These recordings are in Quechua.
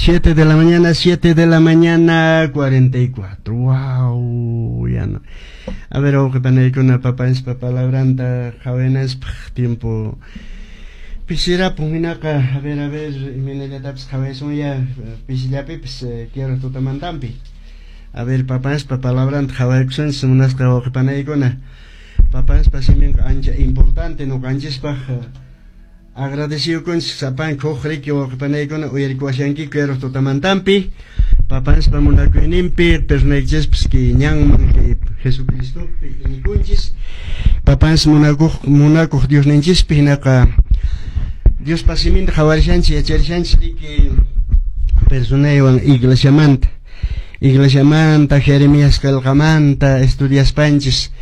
7 de la mañana, 7 de la mañana, 44. Wow, ya no. A ver, wawqe panaykuna, papanchispa palabranta qhawaynanchispaq tiempo pisirapun. Hinaqa, a ver, imaynallatapis qhawaysunya pisillapipis quiero tutamantampi. A ver, papanchispa palabranta qhawaykusunchis, munasqa wawqe panaykuna. Papanchispa siminqa ancha importante ñuqanchispaq. Agradeciyukunchis sapanka huk riki wawqe panaykuna uyarikuwashankiku quiero tutamantampi. Papanchispa munakuyninpi pernaykichispas kay ñanman kay Jesucristopi iñikunchis. Papanchis munakuq Diosninchispi hinaqa Diospa siminta qhawarishanchis, yacharishanchis riki personaywan iglesiamanta. Iglesiamanta, Jeremías qillqamanta estudiaspanchis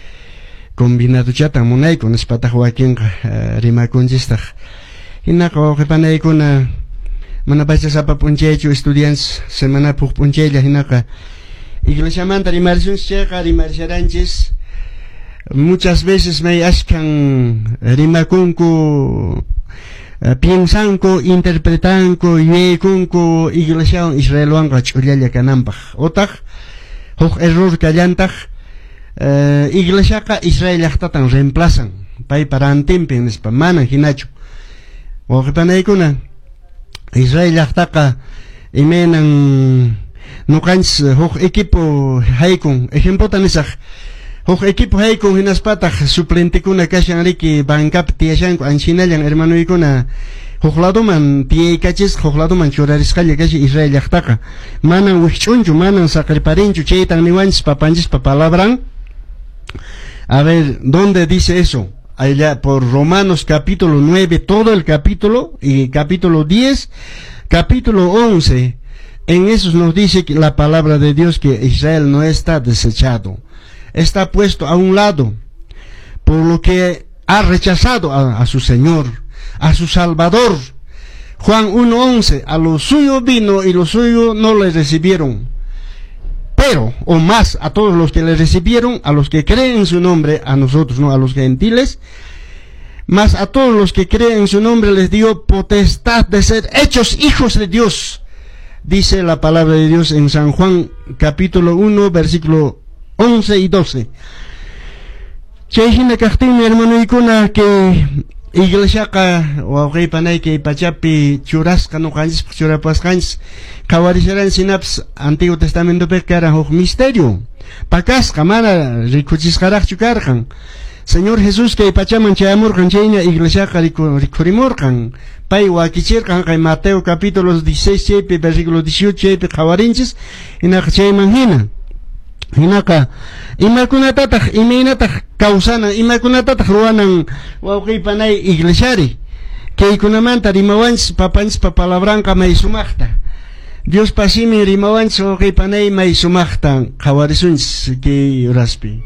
combinadochatan munayku nispataq wakinqa rimakunchistaq. Hinaqa wawqe panaykuna mana pacha sapa p'unchaychu estudianchis semanapi huk p'unchaylla hinaqa iglesiamanta rimarisunchis chayqa rimarisharanchis muchas veces may ashkan rimakunku, piensanku, interpretanku, yuyaykunku iglesiawan Israelwanqa ch'ullalla kananpaq utaq huk error kallantaq iglesiaqa Israel llaqtatan reemplazan paypa rantinpi nispa manan hinachu. Wawqe panaykuna Israel llaqtaqa imaynan ñuqanchis huk equipo haykun, ejemplota nisaq, huk equipo haykun hinaspataq suplentekuna kashan riki bancapi tiyashanku anchinallan hermanoykuna huk ladoman tiyaykachisqa huk ladoman churarisqalla kashan Israel llaqtaqa manan wikch'unchu manan saqirparinchu chaytan niwanchis papanchispa palabran. A ver, ¿dónde dice eso? Allá por Romanos capítulo 9, todo el capítulo, y capítulo 10, capítulo 11, en esos nos dice que la palabra de Dios que Israel no está desechado, está puesto a un lado, por lo que ha rechazado a su Señor, a su Salvador. Juan 1:11, a lo suyo vino y lo suyo no le recibieron. Pero, o más, a todos los que le recibieron, a los que creen en su nombre, a nosotros, no a los gentiles, más a todos los que creen en su nombre les dio potestad de ser hechos hijos de Dios. Dice la palabra de Dios en San Juan capítulo 1, versículo 11 y 12. Chay hina kaqtinmi hermanoykuna que iglesiaqa wawqi panay kay pachapi churasqa ñuqanchispaq churapasqanchis qhawarisharan sinapas Antiguo Testamentopiqa karan huk misterio pakasqa mana rikuchisqaraqchu karqan. Señor Jesús kay pachaman chayamurqan chayña iglesiaqa rikhurimurqan pay wakichirqan kay Mateo capítulo 16 chaypi versículo 18 chaypi qhawarinchis hinaqa chayman hina. Hinaqa imakunatataq imaynataq kawsanan imakunatataq ruwanan wawqi panay iglesiari kaykunamanta rimawanchis papanchispa palabranqa may sumaqta Diospa simin rimawanchis wawqi panay may sumaqta qhawarisunchis kay horaspi.